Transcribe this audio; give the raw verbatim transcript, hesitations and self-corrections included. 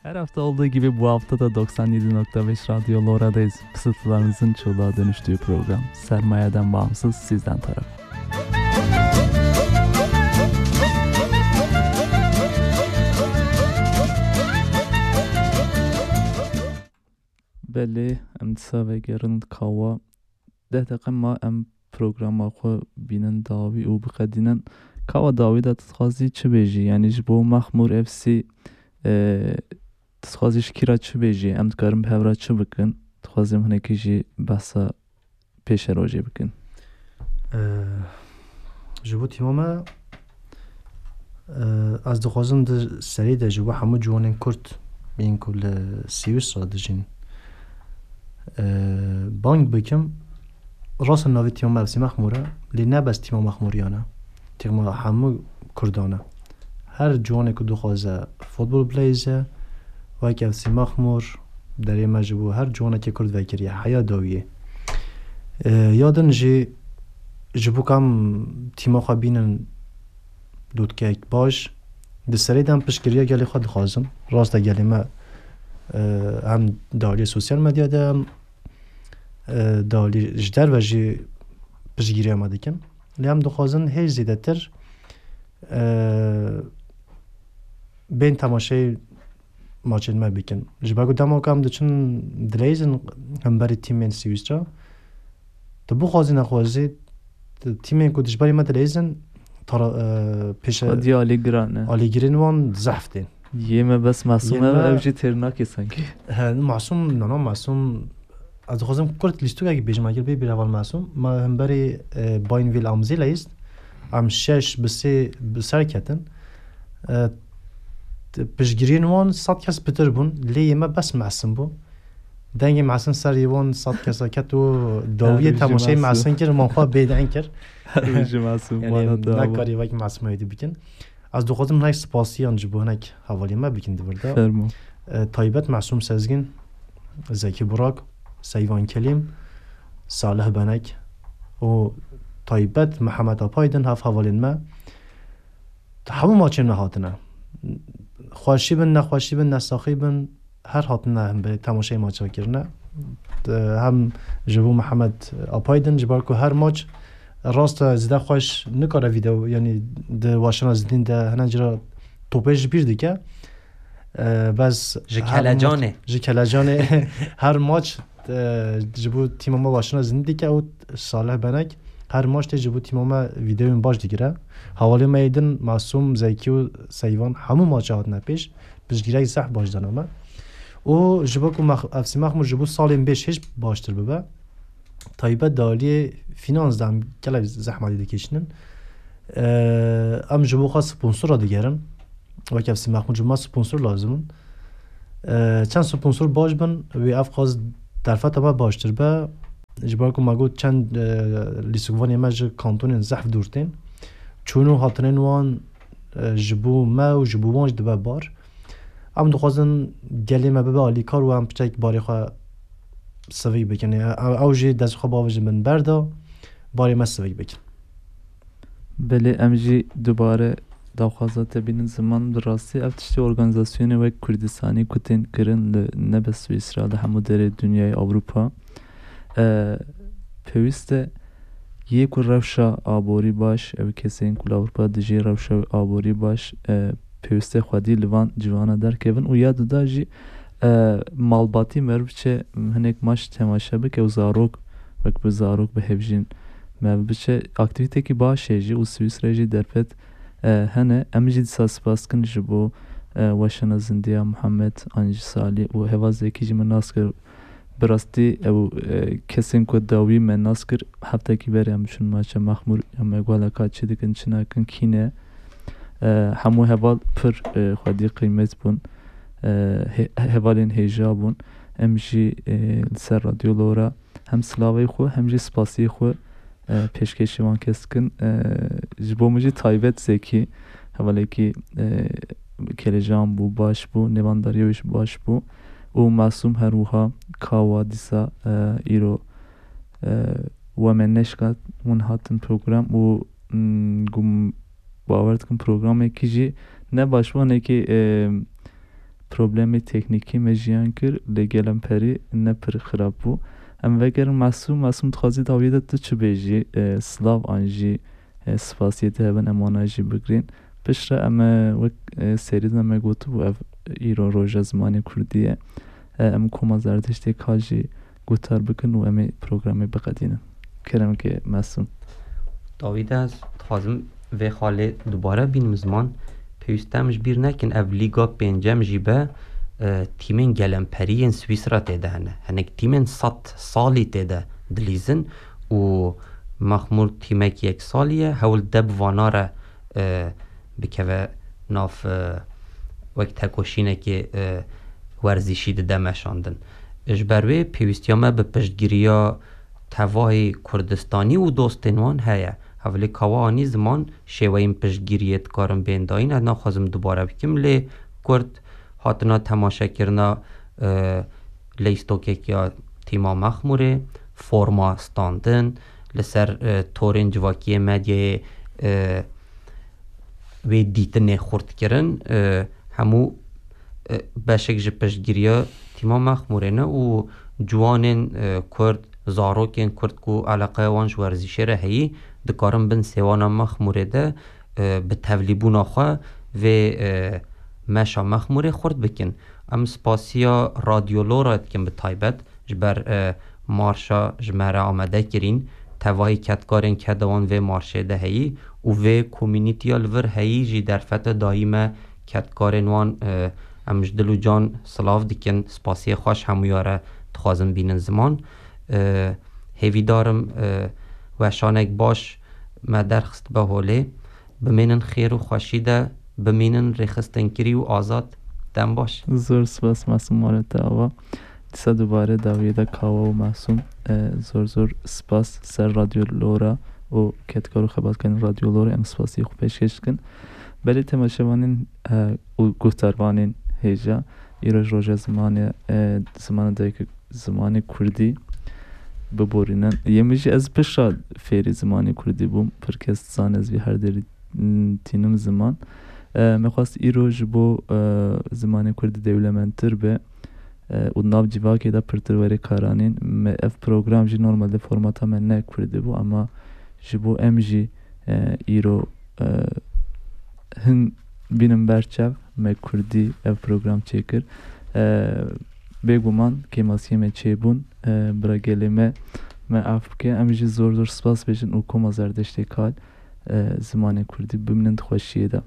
Her hafta olduğu gibi bu hafta da doksan yedi nokta beş Radyo Lora'dayız. Fısıltılarınızın çığlığa dönüştüğü program. Sermayeden bağımsız, sizden tarafı. Belê, em dîsa vegerin kawa. Deh deqe ma em programa xwe bînin dawî û biqedînin. Kawa dawî de tu dixwazî çi bêjî? Yanî ji bo Mexmûr F C, e, tu dixwazî ji kî re çi bêjî? Em dikarin bi hev re çi bikin? Dixwazim hinekî jî behsa pêşerojê bikin. Ee, ji bo tîma me, ee, ez dixwazim di serî de ji bo hemû ciwanên Kurd yên ku li Swîsra dijîn, ee, bang bikim. Rast e navê tîma me F C Mexmûr e, lê ne bes tîma Mexmûriyan e. Tîma hemû Kurdan e. Her ciwanê ku dixwaze futbol bileyze, wek F C Mexmûr, derê me ji bo her ciwanekê Kurd vekiriye, heya dawiyê. E, ya din jî ji bo kam tîma xwe bînin dotkeyek baş, di serê de em piştgiriya gelê xwe dixwazin. Rast e gelê me, e, hem di aliyê sosyal medya de, hem, e, di alî ji derve jî piştgiriya me dikin. Lê em dixwazin hê zêdetir, e, bên temaşeyê maçên me bikin. Ji ber ku dema ku em diçin dileyzin hemberî tîmên Swîsra, tu bixwazî nexwazî, tu tîmên ku dijberî me dileyzin, tara-, e, pêşe-, Xwedî alî giran e. Alîgirên wan zehf tên. Yê me bes masûm Yê e, me ev jî têr nake sankî. He, masûm, nana masûm. Ez dixwazim kurt lîstikekî bêjim, eger bê bîr heval masûm. Me hemberî, e, Bainville am Zîleyist. Em şeş bi sê bi ser ketin. E, t-, piştgiriyên wan sed kes pitir bûn. Lê yê me bes mesin bû. Dengê mesin ser yê wan sed kesa ket û dawiyê Her temaşeyê mesin. Mesin kir, man xwe bêdeng kir. Her ji mesin, Yanî wana te ava. Nekarî wek mesin wê dî bikin. Ez dixwazim hinek spasiyan ji bo hinek hevaliyê me bikin di vir de. Fermo. E, taybet Mesûm Sezgin, Zekî Burak, Seyvan Kelîm, Salih Benek û taybet Mihemed Apaydin, hev hevalên me. Hemû maçên me hatine. Xweşî bin, nexweşî bin, nesaxî bin, her hatine hemberî temaşeyê maça kirine. Hem ji bo Mihemed Apaydin, ji ber ku her maç rast e zêde xweş nikare vîdeo, yanî di weşana zindîn de hene cira topê ji bîr dike. E, bes Ji her kelecanê. maç, ji kelecanê her maç, e, ji bo tîma me weşana zindî dike û Salih Benek her maç tê ji bo tîma me vîdeoyên baş digire. Hevalê me yê din Masûm, Zekî û Seyvan hemû maça hatine pêş. Piştgirêk zehf baş dane me. Û ji bo ku Mex-, F C Mexmûr ji bo salên bêş hêj baştir bibe, taybet di aliyê finans de em gelek zehmetî dikişînin. Eee, em ji bo xwe sponsor re digerin. Wek F C Mexmûr ji me sponsor lazim in. Eee, çend sponsor baş bin, wê ev qas derfeta me baştir be. Ji ber ku me got çend, eee, lîstikvanê me ji kantonên zehf dûr tên. Çûn û hatinên wan, eee, ji bo me û ji bo wan jî dibe bar. Em dixwazin gelê me bibe alîkar û em piçek barê xwe sivik bikin. Ew, ew jî dest xwe bavêjin bin ber de, barê me sivik bikin. Belê, em jî dubare daxwaza te bînin ziman. Bi rastî ev tiştê organîzasyonê wek Kurdistanî ku tên kirin li nebe Swîsra, li hemû derê dinyayê, Ewropa, e, pêwîst e yê ku rewşa aborî baş, ew kesên ku li Ewropa dijî rewşa aborî baş, e, pêwîst e xwedî li van civana derkevin û ya duda jî, e, malbatî meriv biçe hinek maç temaşe bike û zarok, wek bi zarok bihevjîn, meriv biçe aktîvîtekî baş heye jî û Swîsreyê jî derfet, e, hene. Em jî dîsa spas dikin ji bo, e, weşana zindiya Muhammed an jî Salî û Heva Zekî jî min nas kir. Bi rastî ew, e, kesên ku dawî me nas kir, heftekî berê em biçûn maça Mexmûr, em ê guhla ka çi dikin, çi nakin, kî ne. E, hemû heval pir, e, xwedî qîmet bûn. E, he-, hevalên hêja bûn. Em jî, e, li ser Radyo Lora hem silavê xwe hem jî spasiyê xwe, e, pêşkêşî wan kes dikin. E, ji bo min jî taybet Zekî, hevalekî, e, kelecan bû, baş bû, nêvandariyê wê jî baş bû. Û Masûm her wiha, Kawa dîsa, e, îro, e, we me neşkat, hûn hatin program û, mm, gum-, bawer dikim programekî jî ne baş bû, hinekî, e, problemê teknîkî me jiyan kir, lê gelemperî ne pir xirab bû. Em vegerin Mesûm. Mesûm, dixwazî dawiyê de tu çi bêjî? E, silav an jî, e, spasiyê te hebin em wana jî bigirîn. Piştre em, e, wek, e, serî de me gotibû, ev îro roja zimanê kurdî ye. E, em koma Zerdiştê Kal jî guhtar bikin û em ê programê biqedînin. Kerem ke Mesûm. Dawî de ez dixwazim vê xalê dubare bînim ziman. Pêwîst em ji bîr nekin, ev lîga pêncem jî be, e, tîmên gelemperî yên Swîsra tê de hene. Hinek tîmên sed salî tê de dilîzin û Mexmûr tîmek yek salî ye. Hewl de bi vana re, e, bikeve nav, e, wek tekoşînekê, e, werzîşî dide meşandin. Ji ber wê pêwîstiya me bi piştgiriya tevahî Kurdistanî û dostên wan heye. Hevlê kawa anî ziman şêweyên piştgiriyê dikarin bên dayîn. Ez naxwazim dubare bikim, lê Kurd hatina temaşekirina, e, leystokekiya tîma Mexmûrê, forma standin, li ser, e, torên civakiyê medyayê, e, wê dîtinê xurt kirin. E, hemû, e, beşek ji piştgiriya tîma Mexmûrê ne û ciwanên, e, Kurd, zarokên Kurd ku eleqeya wan ji werzîşê re heyî, dikarin bin sêwana Mexmûrê de, e, bi tevlîbûna xwe vê, e, meşa Mexmûrê xurt bikin. Em spasiya Radyo Lora dikin bi taybet ji ber, e, marşa ji me re amade kirîn. Tevahî kedkarên keda wan vê marşê de heyî û vê komînîtiya li vir heyî jî derfete dayî me kedkarên wan, e, em ji dil û can silav dikin. Spasiyê xweş hemûya re dixwazin bînin ziman. E, hêvîdar im, e, weşanek baş me derxist be holê. Bimînin xêr û xweşî de, bimînin rêxistinkirî û azad. Dem baş. Zor spas Mesûm, mala te ava. Dîsa dubare dawiyê de Kawa û Mesûm. E, zor zor spas ser Radyo Lora û kedkar û xebatkarên Radyo Lora, em spasiyê xwe pêşkêş dikin. Belê temaşevanên, e, û guhdarvanên hêja, îroj roja zimanê, e, zimanê dayik, zimanê kurdî biborînin. Yê min jî, ez pişta fêrî zimanê kurdî bûm. Pir kes dizane ez vî her derî, m, tînim ziman. E, me xwest îro ji bo, e, zimanê kurdî dewlemendtir be, e, û nav civakê de pirtir were karanîn. Me ev program jî normalde formata me ne kurdî bû, ama ji bo em jî, e, îro, e, hin bînin ber çav, me kurdî ev program çêkir. E, bêguman kêmasiyê me çêbûn, e, bira gelê me, me af bike. Em jî zor zor spas bêjin û koma Zerdiştê Kal, e, zimanê kurdî bimînin di xweşiyê de.